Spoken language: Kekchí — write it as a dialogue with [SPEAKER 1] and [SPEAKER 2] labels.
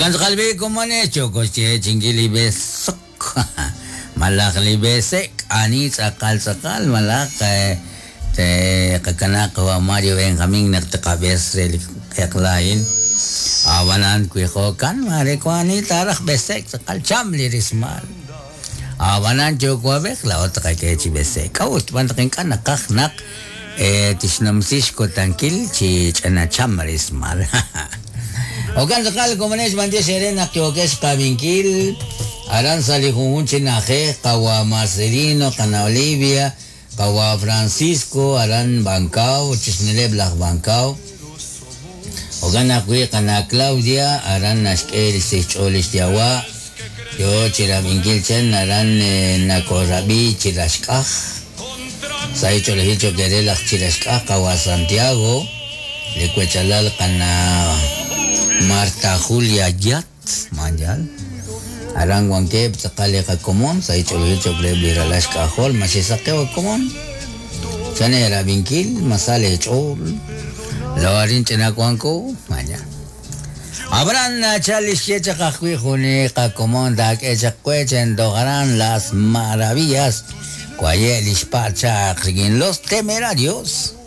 [SPEAKER 1] Jo'kan tz'aqal b'i' komonex yooko xyeechi'inkil li b'esok malaj li b'ese'k ani tz'aqal tz'aqal malaj tqakanaaq qawa' Mario Benjamín naq tqab'es re li q'eqla a'in. Ab'anan wi jo'kan maare wank ani taaraj b'ese'k tz'aqal cham li rismal. Ab'anan yuwa'b'ej laa'o tqak'e chi b'ese'k. K'a'ut? Xb'aan naq ink'a' naqaj naq tixnumsi xkutankil chi ch'ina cham rismal. Jo'kan tz'aqal komonex b'antiox eere naq yookex xqab'inkil aran sa' li junjunq chi na'ajej qawa' Marcelino, qana' Olivia, qawa' Francisco aran Bancao, chixjunileb' laj Bancao. Jo'kan ajwi' qana' Claudia aran naxk'e li xch'ool li xyawa' yo chi rab'inkil chan aran nakoorab'i chi raxk'aj. Sa' xch'oolejil cho'q eere laj chi raxk'aj qawa' Santiago, li wechalal qana' Marta Julia Yat, Mayal. Aran wankeb' tz'aqal li qakomon sa' xch'oolejil cho'q reheb' li ralal xk'ajol ma xe'saqew a komon. Chan eerab'inkil ma sa leech'ool. Laa'o arin ch'ina wanko, maya. Ab'anan nachal li xye chaq ajwi' jun li qakomon taak'e chaq we chan toj aran Las Maravillas waye' li xpa' chaq rik'in Los Temerarios.